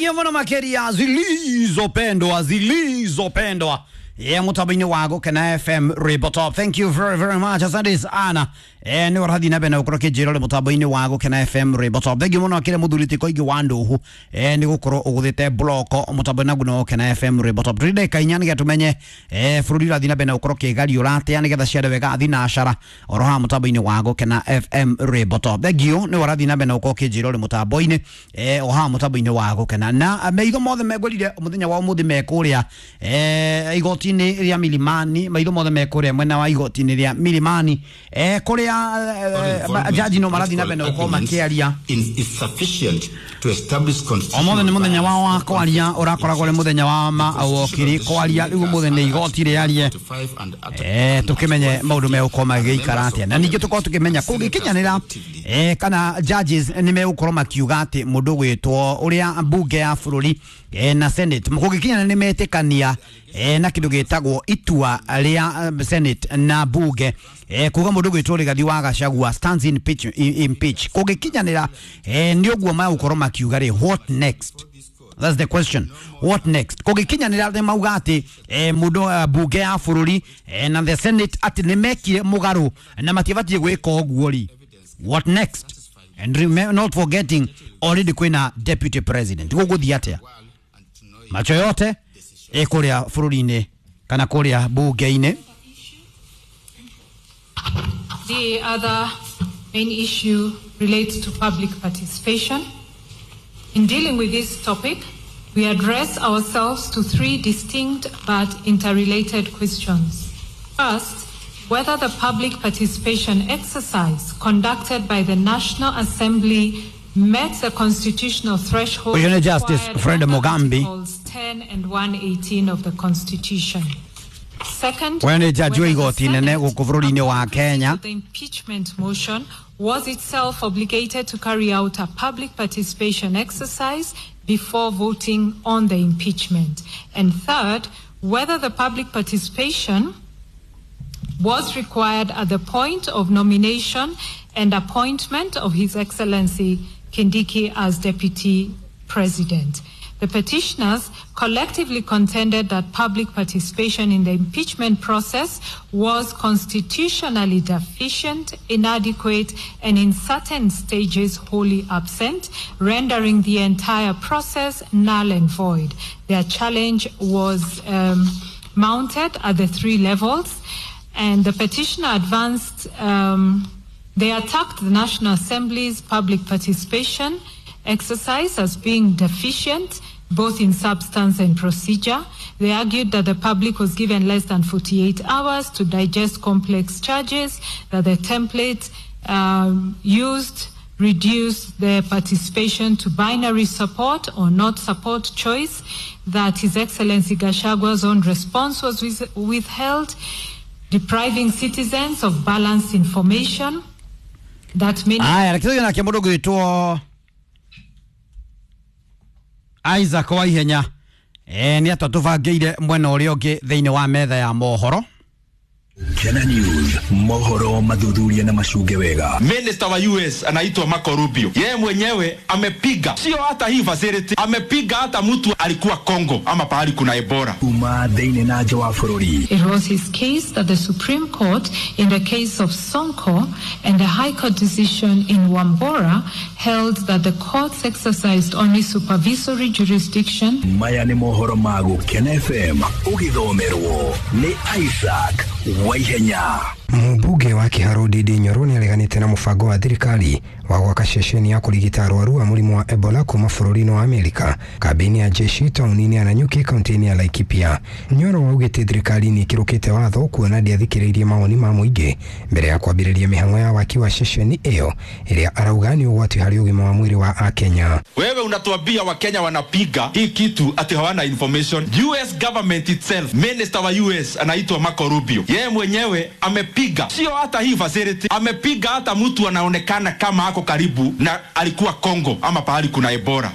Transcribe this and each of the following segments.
Thengio muno makiria zilizopendwa zilizopendwa ye mutambo-inĩ wa Gũkena FM Rainbow Top. Thank you very very much, asante sana. Nĩ ũrathiĩ na mbere na gũkorwo kĩnjĩra ũrĩ mũtambo-inĩ wa Gũkena FM Rainbow Top. Thank you mũno kĩrĩa mũthuri ti Koigi wa Ndũhũ, nĩ gũkorwo ũgũthĩte bloko mũtambo-inĩ naguo wa Gũkena FM Rainbow Top. Tũrĩ ndagĩka inya nĩgetha tũmenye bũrũri ũrathiĩ na mbere na gũkorwo kĩgariũra atĩa nĩgetha ciare wega thinacara oro haha mũtambo-inĩ wa Gũkena FM Rainbow Top. Thank you nĩ ũrathiĩ na mbere na gũkorwo kĩnjĩra ũrĩ mũtambo-inĩ o haha mũtambo-inĩ wa Gũkena na maitho mothe megwĩrire mũthenya wa ũmũthĩ mekũrĩa igoti-inĩ rĩa Milimani, maitho mothe mekũrĩa mwena wa igoti-inĩ rĩa Milimani, kũrĩa jaji no marathiĩ na mbere na gũkorwo makĩaria. Ũmũthĩ nĩ mũthenya wao wa kwaria, ũrakoragwo ũrĩ mũthenya wa mawokiri kwaria, rĩu ũmũthĩ nĩ igoti rĩarie, tũkĩmenye maũndũ megũkorwo magĩikara atĩa, na ningĩ tũkorwo tũkĩmenya kũngĩkinyanĩra kana judges nĩ megũkorwo makiuga atĩ mũndũ gwĩtwo ũrĩa mbunge ya bũrũri na Senate kũngĩkinyanĩra nĩ metĩkania na kĩndũ gĩtagwo itua rĩa Senate na bunge kuga mũndũ gwĩtwo Rigathi wa Gachagua stands in pitch, impeach kũngĩkinyanĩra nĩ ũguo magũkorwo makiuga rĩ, what next? That's the question. What next? Kũngĩkinyanĩra nĩ mauga atĩ mũndũ bunge ya bũrũri na the Senate atĩ nĩ mekire mũgarũ na matiabatiĩ gwĩka ũguo rĩ, what next? And remember, not forgetting already kwĩna deputy president. Gũgũthiĩ atĩa? Macho yote ĩkũrĩa bũrũri-inĩ kana kũrĩa bunge-inĩ. The other main issue relates to public participation. In dealing with this topic, we address ourselves to three distinct but interrelated questions. First, whether the public participation exercise conducted by the National Assembly met the constitutional threshold Ũcio nĩ Justice required Fred under Mugambi. Articles 10 and 118 of the Constitution. Second, Ũyũ nĩ jaji wa whether the igoti nene Senate, gũkũ bũrũri-inĩ wa upon Kenya. the impeachment motion was itself obligated to carry out a public participation exercise before voting on the impeachment. And third, whether the public participation was required at the point of nomination and appointment of His Excellency Kindiki as Deputy President. The petitioners collectively contended that public participation in the impeachment process was constitutionally deficient, inadequate, and in certain stages wholly absent, rendering the entire process null and void. Their challenge was mounted at the three levels, and the petitioner advanced. They attacked the National Assembly's public participation exercise as being deficient, both in substance and procedure. They argued that the public was given less than 48 hours to digest complex charges, that the template used reduced their participation to binary support or not support choice, that His Excellency Gachagua's own response was withheld, depriving citizens of balanced information, that many Aya, reke tũthiĩ nake mũndũ ũgwĩtwo Isaac Waihenya nĩ atũbangĩire mwena ũrĩa ũngĩ thĩinĩ wa metha ya mohoro. Kena News, mohoro mathuthuria na macunge wega. Minister wa US anaitwa Marco Rubio, yeye mwenyewe amepiga, sio hata hii facility, amepiga hata mtu alikuwa Congo ama pahali kuna Ebola. Kuma thĩinĩ na nja wa bũrũri. It was his case that the Supreme Court, in the case of Sonko and the High Court decision in Wambora, held that the courts exercised only supervisory jurisdiction. Maya nĩ mohoro ma Gũkena FM ũgĩthomerwo nĩ Isaac Waihenya. Mũmbunge wa Kiharu Ndindi Nyoro nĩ areganĩte na mũbango wa thirikari wa gwaka ceceni ya kũrigita arwaru a mũrimũ wa Ebola kuma bũrũri-inĩ wa Amerika kambĩ-inĩ ya jeshi taũni-inĩ ya Nanyuki kaunti-inĩ ya Laikipia. Nyoro augĩte thirikari nĩ ĩkĩrũkĩte watho kuona ndĩathikĩrĩirie mawoni ma mũingĩ mbere ya kwambĩrĩria mĩhang'o ya waki wa ceceni ĩyo ĩrĩa arauga nĩ ũgwati harĩ ũgima wa mwĩrĩ wa Akenya. Wewe unatuambia Wakenya wanapiga hii kitu ati hawana information. US government itself, minister wa US anaitwa Marco Rubio, yeye mwenyewe amepiga, sio hata hii facility, amepiga hata mtu anaonekana kama ako karibu na alikuwa Congo ama pahali kuna Ebola.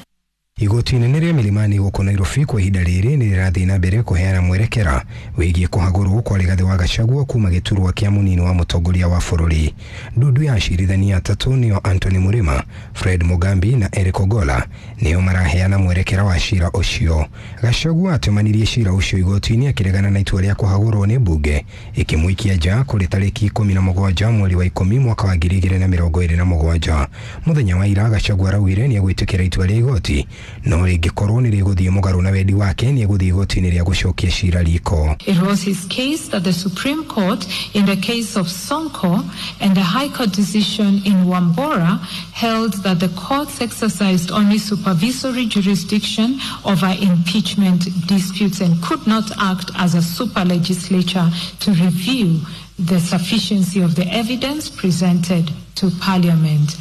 Igoti inene rĩa Milimani gũkũ Nairobi kwa ihinda rĩrĩ nĩ rĩrathiĩ na mbere kũheana mwerekera wĩgiĩ kũhagũrwo kwa Rigathĩ wa Gachagua kuma gĩturwa kĩa mũnini wa mũtongoria wa bũrũri. Ndundu ya acirithania atatũ nĩo Anthony Murima, Fred Mugambi na Eric Ogola nĩo maraheana mwerekera wa cira ũcio. Gachagua atemanirie cira ũcio igoti-inĩ akĩregana na itua rĩa kũhagũrwo nĩ mbunge ĩkĩmũikia nja kũrĩ tarĩki 17 mweri wa 10 mwaka wa 2027. Mũthenya wa ira Gachagua araugire nĩ egwĩtĩkĩra itua rĩa igoti no rĩngĩkorwo nĩ rĩgũthiĩ mũgarũ na wendi wake nĩ egũthiĩ igoti-inĩ rĩa gũcokia cira riko. It was his case that the Supreme Court in the case of Sonko and the High Court decision in Wambora held that the courts exercised only supervisory jurisdiction over impeachment disputes and could not act as a super legislature to review the sufficiency of the evidence presented to Parliament.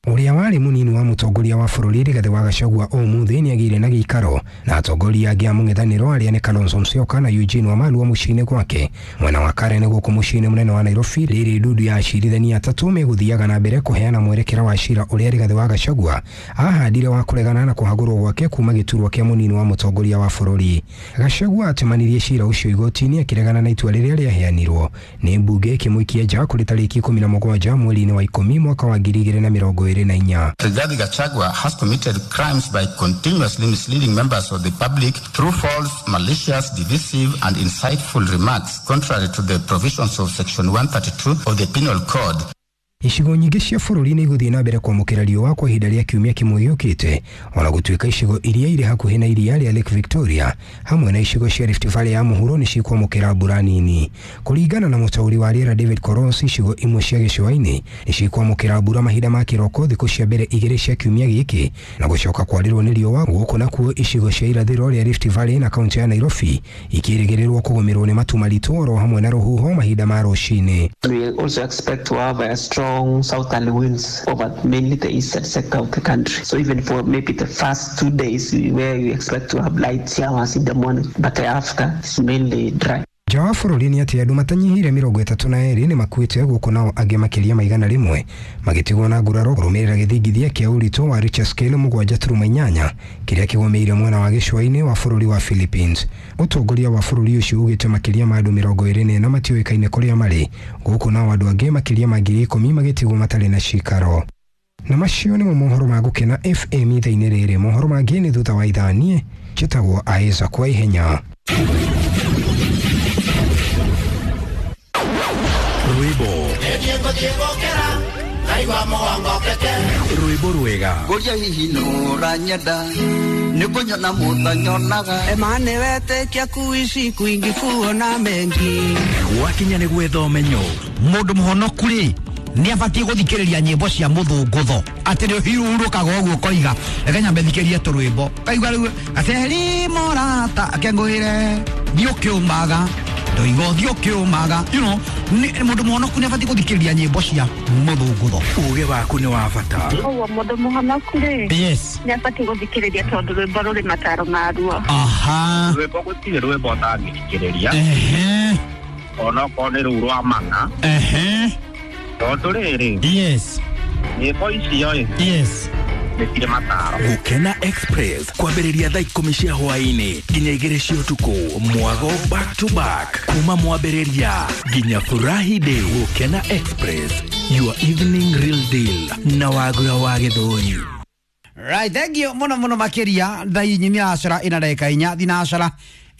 Ũrĩa warĩ mũnini wa mũtongoria wa bũrũri Rigathĩ wa Gachagua ũmũthĩ nĩagĩire na gĩikaro na atongoria angĩ a mũng'ethanĩro arĩa nĩ Kalonzo Musyoka na Eugene Wamalwa mũciĩ-inĩ gwake mwena wa Karen gũkũ mũciĩ-inĩ mũnene wa Nairobi. Rĩrĩ ndundu ya acirithania atatũ megũthiaga na mbere kũheana mwerekera wa cira ũrĩa Rigathĩ wa Gachagua ahandire wa kũregana na kũhagũrwo gwake kuma gĩturwa kĩa mũnini wa mũtongoria wa bũrũri. Gachagua atemanirie cira ũcio igoti-inĩ akĩregana na itua rĩrĩa rĩaheanirwo nĩ mbunge ĩkĩmũikia nja kũrĩ tarĩki 17 mweri-inĩ wa 10 mwaka wa 2024. Rigathi Gachagua has committed crimes by continuously misleading members of the public through false, malicious, divisive, and insightful remarks contrary to the provisions of Section 132 of the Penal Code. Icigo nyingĩ cia bũrũri nĩ igũthiĩ na mbere kwamũkĩra riũa kwa ihinda rĩa kiumia kĩmwe gĩũkĩte ona gũtuĩka icigo iria irĩ hakuhĩ na iria rĩa Lake Victoria hamwe na icigo cia Rift Valley ya mũhuro nĩ cikwamũkĩra mbura nini. Kũringana na mũtaũri wa rĩera David Koros, icigo imwe cia gĩcũa-inĩ nĩ cikwamũkĩra mbura mahinda ma kĩroko thikũ cia mbere igĩrĩ cia kiumia gĩkĩ na gũcoka kwarĩrwo nĩ riũa. Gũkũ nakuo icigo cia irathĩro rĩa Rift Valley na kaunti ya Nairobi ikĩrĩgĩrĩrwo kũgũmĩrwo nĩ matu maritũ oro hamwe na rũhuho mahinda ma rũcinĩ. We also expect to have a strong southerly winds over mainly the eastern sector of the country. So even for maybe the first 2 days where you expect to have light showers in the morning, but after it's mainly dry. Nja wa bũrũri nĩ atĩ andũ matanyihĩire 32 nĩ makuĩte gũkũ nao angĩ makĩria ma 100 magĩtigwo na nguraro kũrũmĩrĩra gĩthingithia kĩa ũritũ wa Richter scale 7.8 kĩrĩa kĩgũmĩire mwena wa gĩcũa-inĩ wa bũrũri wa Philippines. Ũtongoria wa bũrũri ũcio ugĩte makĩria ma andũ 24 matiũĩkaine kũrĩa marĩ gũkũ nao andũ angĩ makĩria ma 10,000 magĩtigwo matarĩ na cikaro. Na macio nĩmo mohoro ma Gũkena FM ithaa-inĩ rĩrĩ. Mohoro mangĩ nĩ thutha wa ithaa. Niĩ njĩtagwo Isaac wa Ihenya. Rwĩmbo rwega Ngũria hihi nũranyenda nĩ kũnyona mũtanyonaga Emane wetĩkia kuishi kwingi kuona mengi gwakinya nĩ gwetha ũmenyo. Mũndũ mũhonoku rĩ nĩ abatiĩ gũthikĩrĩria nyĩmbo cia mũthũngũtho atĩ nĩ ũhurũkaga ũguo ũkoiga reke nyambe thikĩrie tũrwĩmbo kaigua rĩu gaceri mũrata akengũĩre thiĩ ũkĩũmaga ndoiga ũthiĩ ũkĩũmaga you know mũndũ mũhonoku nĩ abatiĩ gũthikĩrĩria nyĩmbo cia mũthũngũtho. Ũgĩ waku nĩ wa bata. Ũguo mũndũ mũhonoku rĩ yes nĩ abatiĩ gũthikĩrĩria tondũ rwĩmbo rũrĩ mataro maruo. Aha, rwĩmbo gũtirĩ rwĩmbo ũtangĩthikĩrĩria ehe, onokorwo nĩ rũu rwa mana ehe, tondũ rĩrĩ yes nyĩmbo icio ĩ yes nĩ cirĩ mataro. Gũkena Express kwambĩrĩria thaa 10 cia hwaĩ-inĩ nginya 2 cia ũtukũ mwago back to back kuma mwambĩrĩria nginya furahi day. Gũkena Express, your evening real deal na Wagura wa Gĩthũri. Right, thank you muno muno makiria thaa inya acara ina ndagĩka inya thina acara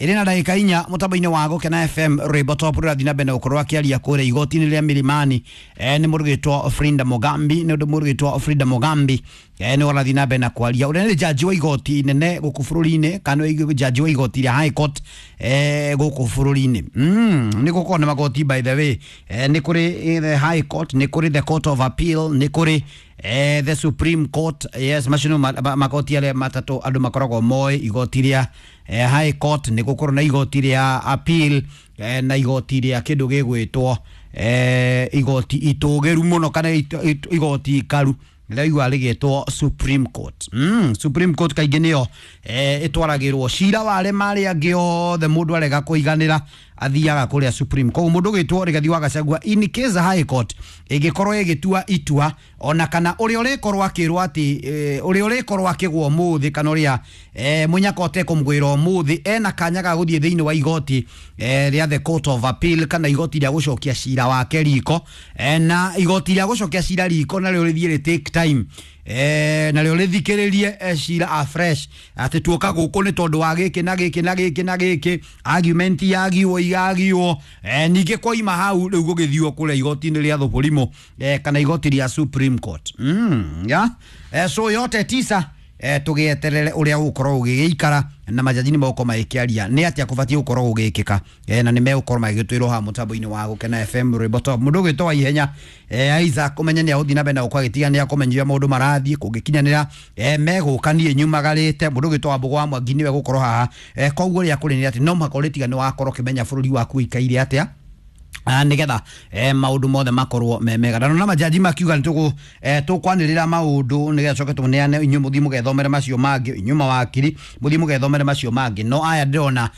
ĩrĩ na ndagĩka inya mũtambo-inĩ wa Gũkena FM rwĩmbo top rũrathiĩ na mbere na gũkorwo akĩaria kũrĩa igoti-inĩ rĩa Milimani. Nĩ mũrugĩtwo Frida Mugambi, nĩ ũndũ mũrugĩtwo Frida Mugambi nĩ ũrathiĩ na mbere na kwaria ũrĩa nĩ jaji wa igoti inene gũkũ bũrũri-inĩ kana jaji wa igoti rĩa High Court gũkũ bũrũri-inĩ. Nĩ gũkorwo na magoti by the way, nĩ kũrĩ the High Court, nĩ kũrĩ the Court of Appeal, nĩ kũrĩ the Supreme Court. Yes, macio nĩmo magoti arĩa matatũ andũ makoragwo moĩ, igoti rĩa High Court, nĩ gũkorwo na igoti rĩa Appeal na igoti rĩa kĩndũ gĩgwĩtwo igoti itũgĩru mũno kana igoti ikaru rĩraigua rĩgĩtwo Supreme Court. Supreme Court kaingĩ nĩyo ĩtwaragĩrwo cira wa arĩa marĩa angĩ othe mũndũ arega kũiganĩra athiaga kũrĩa Supreme. Koguo mũndũ ũgwĩtwo Rigathi wa Gachagua in case High Court ĩngĩkorwo ĩgĩtua itua ona kana ũrĩa ũrĩkorwo akĩrwo atĩ ũrĩa ũrĩkorwo akĩgwo ũmũthĩ kana ũrĩa mũnyaka ũtekũmũgwĩra ũmũthĩ ena kanya ga gũthiĩ thĩinĩ wa igoti rĩa the Court of Appeal kana igoti rĩa gũcokia cira wake riko, na igoti rĩa gũcokia cira riko narĩo rĩthiĩ rĩ take time, narĩo rĩthikĩrĩrie cira afresh atĩ tuoka gũkũ nĩ tondũ wa gĩkĩ na gĩkĩ na gĩkĩ na gĩkĩ, argument yagiwo igagiwo, ningĩ kwaima hau rĩu gũgĩthiwo kũrĩa igoti-inĩ rĩa Thũbũrimũ, kana igoti rĩa Supreme Court. Yeah? So yote tisa, tũgĩeterere ũrĩa ũgũkorwo ũgĩgĩikara na majaji nĩ megũkorwo magĩkĩaria nĩ atĩa kũbatiĩ gũkorwo gũgĩkĩka, na nĩ megũkorwo magĩgĩtwĩrwo haha mũtambo-inĩ wa Gũkena FM rwĩmbo top. Mũndũ ũgwĩtwo wa ihenya, Isaac ũmenye nĩ agũthiĩ na mbere na gũkorwo agĩtiga nĩ akũmenyithia maũndũ marathiĩ kũngĩkinyanĩra, megũka niĩ nyumagarĩte. Mũndũ ũgwĩtwo wa Mbũgũ wa Mwangi nĩwe gũkorwo haha, koguo ũrĩa kũrĩ nĩ atĩ no mũhaka ũrĩtiga nĩ wakorwo ũkĩmenya bũrũri waku ũikaire atĩa, nigetha maundu mothe makorwo me mega. Na nona majaji makiuga nitugu tukwanirira maundu nigetha coke tuneane inyu muthi mugethomere macio mangi, inyu mawakiri muthi mugethomere macio mangi. No aya ndirona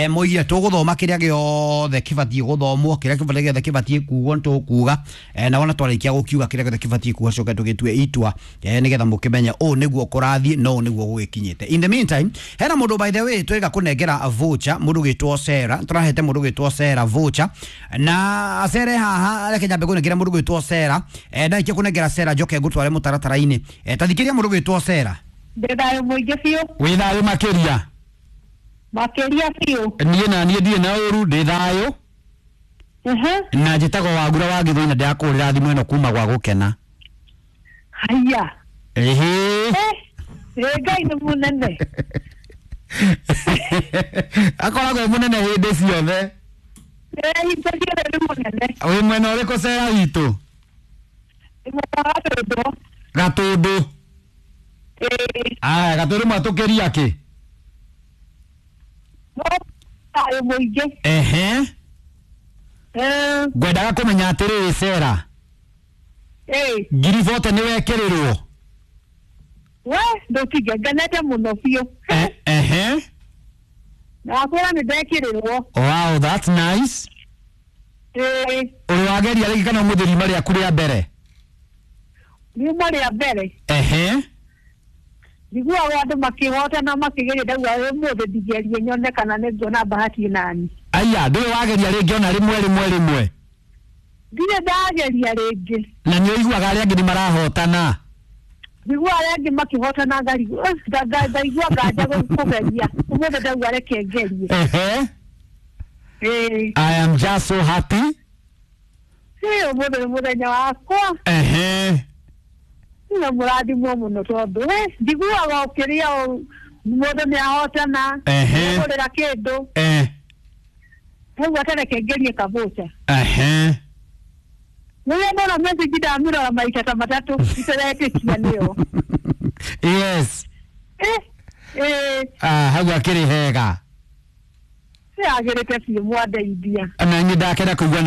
moigire tuguthoma kiria giothe kibatie guthomwo, kiria giothe kibatie kugwo nitukuga, na wona twarikia gukiuga kiria giothe kibatie kugwo coke tugitue itua, nigetha mukimenye uu niguo kurathie no niguo gugikinyite. In the meantime, hena mundu by the way twega kunengera voucher, mundu gwitwo Sarah, turahete mundu gwitwo Sarah voucher na acere haha reke nyambe kunengera mundu gwitwo Sarah, ndaikia kunengera Sarah njoke ngutware mutaratara-ini. Tathikiria mundu gwitwo Sarah. Ndĩ thayũ mũingĩ biũ. Wĩ thayũ makĩria? Makĩria biũ. Niĩ na niĩ ndirĩ na ũru, ndĩ thayũ. Na njĩtagwo Wagura wa Gĩthũi na ndĩrakũhũrĩra thimũ ĩno kuma gwa Gũkena. Haiya. Ĩhĩ. Ngai nĩ mũnene. Akoragwo e mũnene hĩndĩ ciothe. Wĩ mwena ũrĩkũ Sarah witũ? Gatũndũ. Aya, Gatũndũ mwatũkĩria kĩ? Ehe. Ngwendaga kũmenya atĩrĩrĩ Sarah. Ngiri bote nĩ wekĩrĩrwo? We, ndũtige, ngenete mũno biũ. Ehe. Ndakwĩra nĩ ndekĩrĩrwo. Wow, that's nice. Ũrĩ wageria rĩngĩ kana ũmũthĩ riuma rĩaku rĩa mbere? Riuma rĩa mbere. Ehe. Njiguaga andũ makĩhotana makĩgeria, ndauga ũmũthĩ ndigerie nyone kana nĩ nguona bahati nani. Aya, ndũrĩ wageria rĩngĩ ona rĩmwe rĩmwe rĩmwe? Ndirĩ ndageria rĩngĩ. Na nĩ ũiguaga arĩa angĩ nĩ marahotana? Njiguaga arĩa angĩ makĩhotana ndaigua nganja kũgeria. Ũmũthĩ ndauga reke ngerie. Ehe. I am just so happy. Ũmũthĩ nĩ mũthenya wakwa. Ehe. Na mũrathimwo mũno tondũ njiguaga ũkĩrĩa mũndũ nĩ ahotana. Ehe. Kũgũrĩra kĩndũ. Rĩu atareke ngerie kabũca. Ehe. Rĩrĩa ndona message ndamĩrora maita ta matatũ iteretĩkia nĩyo. Yes. Hau akĩrĩ hega. Yagĩrĩte biũ mwandeithia. Na niĩ ndakena kũigua.